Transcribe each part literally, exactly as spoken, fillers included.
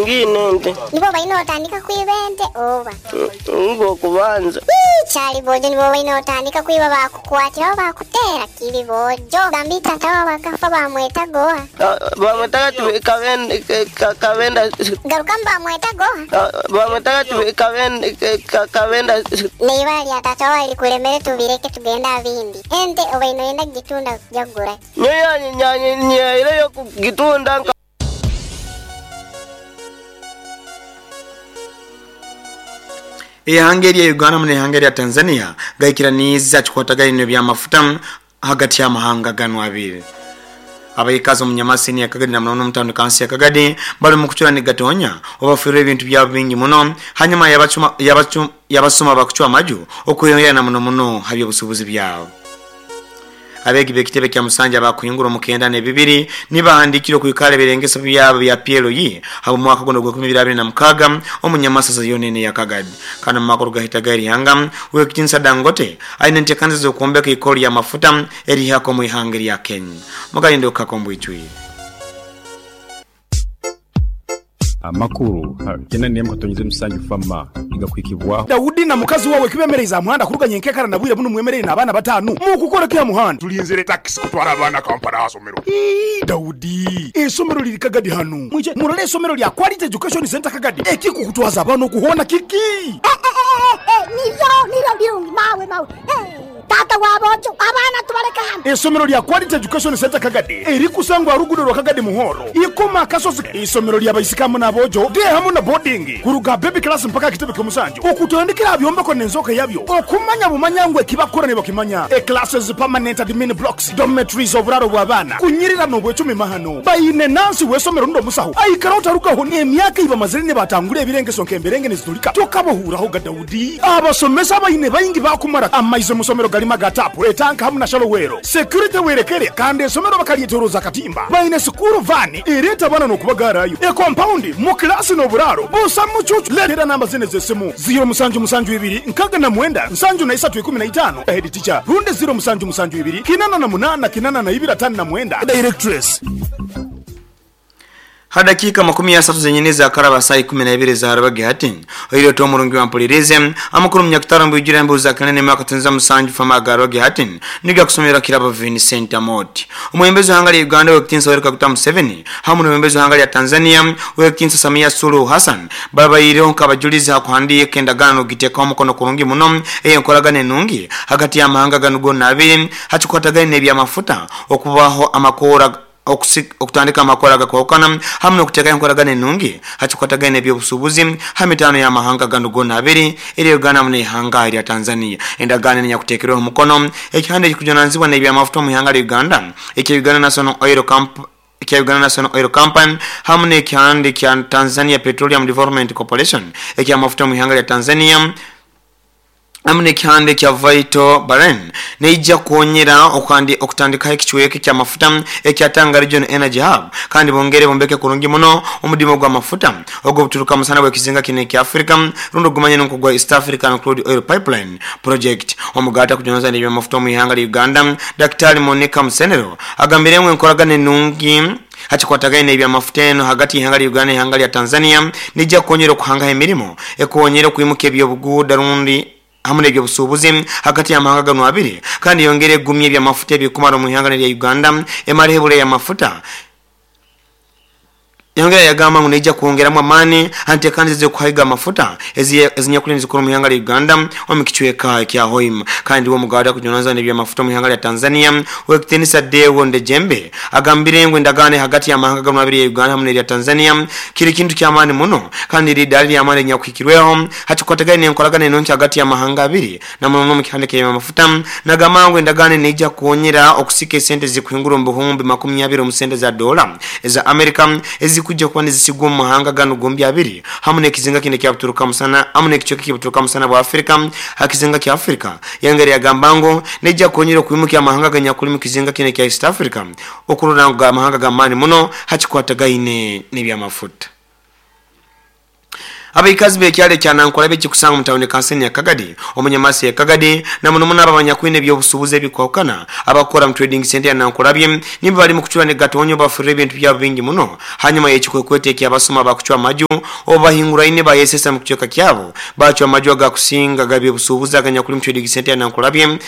Ngine nte. Nibo baina otandika kwiba ente oba? Ngo kubanza. Chali bojo nibo baina otandika kwiba bakukwatira bakutera kili bojo. Gambita tawa bakafa bamweta goa. Bamweta kabenda kabenda. Garukamba bamweta goa. Bamweta kabenda kabenda. Neiba lya tata wali kulemere tubireke tugenda bindi. Ente obaino enda gitunda jagura. Nyoya nyanyi nyaire yo gitunda. Ihanga lya Uganda mune ihanga lya Tanzania gaikiraniza chikwatagaine bya mafuta hagati ya mahanga gano abiri. Abayikazi omunyamasini ya Kagadi na munono mutano kansi ya Kagadi bali mu kuchura ni gatonya obafirwe ebintu bya bingi muno hanyuma yabachuma yabachuma yabasoma bakuchwa maju okuyongera na muno muno habyo busubuzi byabo. Abegi bekitebe kya Musanja bakuyingura mukenda ne bibiri nibahandikiro kuikale birengeso byabo bya P L E habo mwaka gono gwa ikumi na mukaga omunyamasasa yonene ya Kagadi kana makuru gahita gari hanga wekitinsa Dangote aine ntekanze zo kuombeka ikoli ya mafuta eri hako mu ihanga lya Kenya mugalindo kakombo icwi amakuru kena niye mkatonyize musanju fama igakwikibwa Daudi na mukazi wawe kibemereza muhanda kuruganye nkekara nabwire buno mwemerere nabana batanu mukukora kya muhanda tulinzire taxi kutwara abana Kampala asomero. Daudi esomero liri Kagadi hano muje murole esomero lya Quality Education Center Kagadi ekiko kutwaza abana kuhona kiki niyo niyo birungi mawe mawe tata wabojo abana tubareka hano. Esomero lya Quality Education Center Kagadi eri kusangwa rugudo rwa Kagadi muhoro ikoma kasozi. Isomero lya bayisikamu nabojo de hamu na boarding kuruga baby class mpaka kitebe kyomusanjo okutandikira byombeko nenzoka yabyo okumanya bumanyangwe kibakora ne bakimanya e classes permanent admin blocks dormitories oburaro bw'abana kunyirira no bwecumi mahano bayine nansi wesomero ndo musaho aikara utarukaho ne emyaka iba mazire batangure ebirengeso nkemberenge nizitulika tokabohuraho ga Daudi abasomesa bayine bayingi bakumara amaize musomero galima gatapu etanka hamu na shalowero security werekere kandi esomero bakalyeteroza katimba bayine sukuru vani ereta bana nokubagarayo e compound mu class no buraro busa mucucu letera namba zine zesimu zero musanju musanju ibiri nkaga na mwenda nsanju na isatu ikumi na itano head teacher runde zero musanju musanju ibiri kinana na munana kinana na ibira tano na mwenda directress. Hadakika makumi ya satu zenye za karaba saa ikumi na ibiri za harabagi hati. Oiro to murungi wa mpulirize. Amakuru mnyakutara mbujira mbu za kanene mwaka tunza musanju fama garabagi hati. Niga kusomera kiraba Vincent Amoti. Umuembezi wa hangali ya Uganda wekitinsa Yoweri Kaguta Museveni. Hamu na umuembezi wa hangali ya Tanzania wekitinsa Samia Suluhu Hassan. Baba iriho nkabajuliza hakuhandiye kendagano giteka omukono kurungi muno. Eyo nkoragane nungi. Hagati ya mahanga ganugo nabiri. Hachikwatagane nebya mafuta. Okubaho amakora okutandika amakora gakwokana hamwe nokuteka enkoragane nungi hachikwatagane ebyobusubuzi hamitano ya mahanga ganugo nabiri eri Uganda mune ihanga lya Tanzania endagane nyakutekerwa omukono ekihande kikujonanzibwa n'ebya mafuta mu ihanga lya Uganda ekya Uganda National Oil Company ekya Uganda National Oil Company hamwe n'ekihande kya Tanzania Petroleum Development Corporation ekya mafuta mu ihanga lya Tanzania amune kihande kya Vital Bahrain neija kuonyera okandi okutandika ekichweke kya mafuta ekya Tanga Region Energy Hub kandi bongere bombeke kurungi muno omudimo gwa mafuta ogwo buturuka musana bwe kizinga kine kya Africa rundo gumanye nko gwa East African Crude Oil Pipeline Project omugata kujonoza n'ebya mafuta mu ihanga lya Uganda Daktari Monica Musenero agambire ngwe nkoragane nungi hachikwatagaine ebya mafuta eno hagati y'ihanga lya Uganda n'ihanga lya Tanzania nijja kuonyera okuhanga emirimo ekonyera okuyimuka ebyobuguuda rundi hamwe n'ebyo busubuzi hagati ya mahanga gano abiri kandi yongere gumye bya mafuta ebikumara mu ihanga lya Uganda emale hebule ya mafuta yongera yagamba ngo neija kuongeramu amani ante kandi ze kuhaiga mafuta ezinyakulini zikuru mu ihanga lya Uganda omukichweka kya Hoima kandi wo mugada kujonaza n'ebya mafuta mu ihanga lya Tanzania wekitenisa Deo Ndejembe agambire ngo endagane hagati ya mahanga gano abiri ya Uganda hamwe n'erya Tanzania kiri kintu kya amani muno kandi iri dali ya amani nyakuhikirweho hachikwatagane enkoragane enonki hagati ya mahanga abiri na muno mu kihande kya mafuta nagamba endagane neija kuonyera okusika esente zikuhingura mu buhumbi makumi abiri mu sente za dola eza America eziku kujja kuba nizisigwa mu mahanga gano gombi abiri hamwe n'ekizinga kine kya buturuka musana hamwe n'ekichweka kya buturuka musana bwa Afrika hakizinga kya Afrika yangere yagamba ngo nejja kuonyera okuyimuka amahanga ganyakuli mu kizinga kine kya East Africa okurora ngo amahanga gamani muno hachikwatagaine n'ebyamafuta. Abaikazi bekyalo ekya Nankulabye ekikusanga mu tawuni kanseni ya Kagadi omunyamasi ya Kagadi na muno muno abanyakwine ebyobusuubuzi ebikwawukana abakora mu trading center ya Nankulabye nimba bali mu kucwa ne gatonyo bafurira ebintu byabo bingi muno hanyuma y'ekikwekwete ekyabasoma bakucwa amaju obahinguraine bayesesa mu kucweka kyabo bacwa amaju agakusinga gabyobusuubuzi aganyakuli mu trading center ya Nankulabye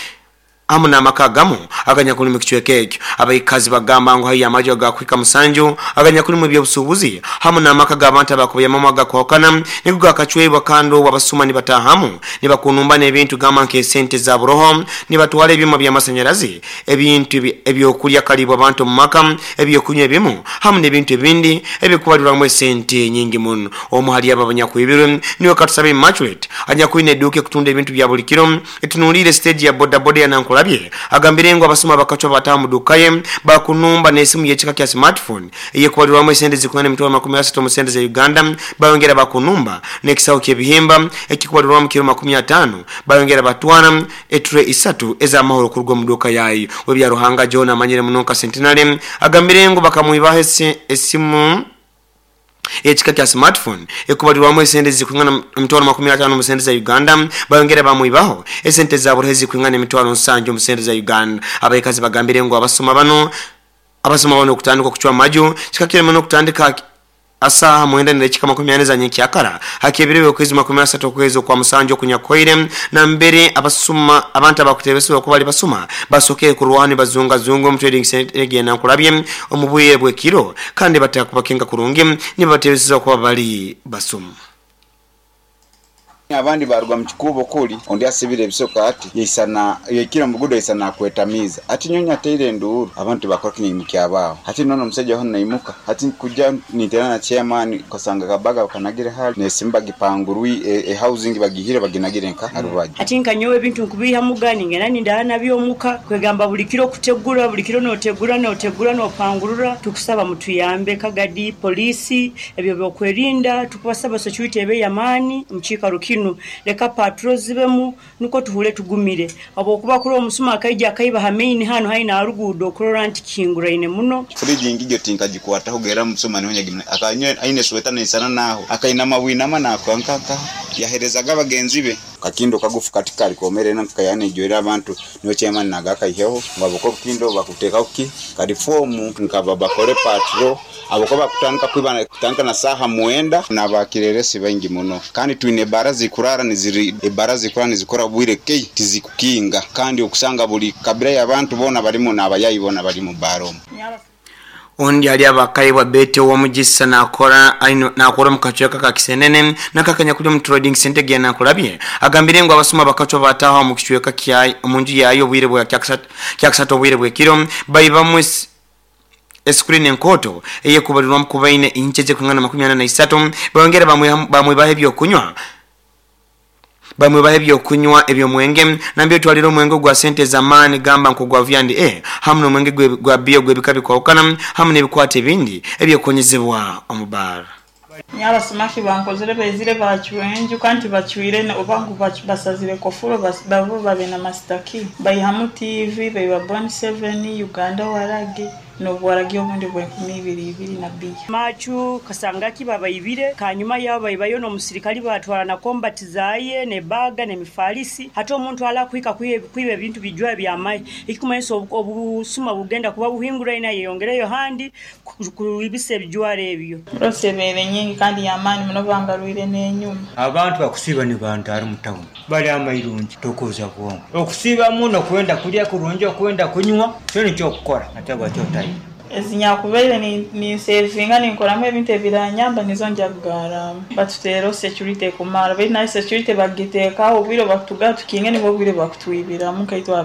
amu n'amaka agamu aganyakuli mu kicweka ekyo. Abaikazi bagamba ngu haiyo amaju agakwika musanju aganyakuli mu ebyobusuubuzi hamu n'amaka g'abantu abakubuyamamu agakwawukana nigo gakacwebwa kandi obwo abasuma nibatahamu nibakunumba n'ebintu gamba nk'esente za buroho nibatwala ebyuma by'amasanyarazi ebintu ebyokulya kalibwa abantu mu maka ebyokunywa ebimu hamu n'ebintu ebindi ebikubalirwamu esente nyingi muno. Omu hali abo abanyakwibirwe niwe Katusabe Immaculate anyakwine edduuka ekutunda ebintu bya buli kiro etunuulire stage ya bodaboda ya Nankulabye agambire ngu abasuma bakacwa bataha mu duka ye bakunumba n'esimu y'ekika kya smartphone eyekubalirwamu esente zikungana emitwalo makumi asatu mu sente za Uganda bayongera bakunumba n'ekisawo ky'ebihimba ekikubalirwamu kiro makumi ataano bayongera batwara eture isatu ez'amahoro kuruga mu duka yayo. Webyaruhanga John amanyire muno nka Centenary agambire ngu bakamwibaho esimu ekika kya smartphone ekubalirwamu esente zikungana emitwalo makumi ataano mu sente za Uganda bayongera bamwibaho esente za burohe zikungana emitwalo nsanju mu sente za Uganda. Abaikazi bagambire ngu abasoma bano abasoma bano okutandika okucwa amaju kikakire muno okutandika asaha mwenda n'edakika makumi ane za nyenkyakara hakeberewe okwezi makumi asatu okwezi okwa musanju okunyakoire na mbere abasuma abantu abakutebesebwa okuba bali basuma basokere kurwani bazungazunga omu trading center ya Nankulabye omu bwire bw'ekiro kandi batakubakenga kurungi nibabatebeseza okuba bali basuma. Abandi barugwa mu kikubo kuli ondi asibire ebisoka ati yeisana yekira mugudo yeisana kwetamiza ati nyonya teire enduru abantu bakora kinyi kyabaawo ati nono omusajja hano naimuka ati kuja nitera na chairman kasanga kabaga kanagire hali nesimba gipangurwi e, e housing bagihire baginagire nka arubaje ati nkanyowe ebintu nkubiha mugani ngena nindaana byomuka kwegamba buli kiro kutegura buli kiro notegura notegura nopangurura. Tukusaba mutuyambe Kagadi polisi ebyo byokwerinda tukubasaba security ebe yamani mchika rukino leka patrol zibemu nuko tuhule tugumire abo kuba kuri omusuma akaija akaiba hamaini hano haina arugudo okurora nti kinguraine muno friji ngijo tinkajikwata hugera musuma niho nyagimwe akanywe aine sweta nisana naho akainama winama nakankanka yaherezaga bagenzi be kakindo kagufu katika likomere nankayane joera abantu niho chairman nagaka iheho ngaboko kindo bakuteka uki kalifomu nkaba bakore patrol aboko bakutandika kwibana kutandika na saha muenda nabakireresi baingi muno kandi twine barazi kurara niziri ebara zikora nizikora bwire kei tizikukinga kandi okusanga buli kabira y'abantu bona balimu n'abayayi bona bali mu baro. Ondi ali abakaibwa bete wa mugisa nakora aino nakora mukacweka ka Kisenene nakakanya kuli mu trading center gya Nankulabye agambire ngo abasuma bakacwa bataha mu kicweka kya munju yayo bwire bwa kyakasatu obwire bwekiro bayibamwe escreen enkoto eyekubalirwa mukubaine incheje kungana makumi ana na isatu bayongera bamwe bamwe bahe byokunywa bamwe bahe byokunywa ebyo mwenge nambyo twaliro omwenge gwa sente zamani gamba nko gwa vyandi eh hamu nomwenge gwa bio gwebika bikwawukana hamu nebikwate ebindi ebyokonyezebwa omubara. Nyabasumaki bankozere bezire bacywenju kandi bacyuire obangu basazire kofuro babo babe na mastaki bayihamu T V bayiba Bon seven Uganda waragi nobwaragi obundi bwenkumi ibiri ibiri na biya machu kasangaki babayibire kanyuma yabo bayibayo no musirikali batwala na combat zaye ne baga ne mifalisi hata omuntu ala kwika kwibe bintu bijwa bya mai ikikumanyisa obusuma bugenda kuba buhingura ina yeyongereyo handi kubise bijware ebyo rosebere nyingi kandi yamani muno bangarwire nenyuma abantu bakusiba ni bantu ari mutauni bali amairungi tokoza bwongo okusiba muno kwenda kulya kurungi okwenda kunywa cyo nicyo kukora atagwa cyo tayi ezinyakubeire ni ni savinga ninkoramu ebintu ebiranyamba nizo njagaramu batutero security kumara bari na security bagiteka obwiro batuga tukinge nibo bwire bakutwibiramu kaitwa.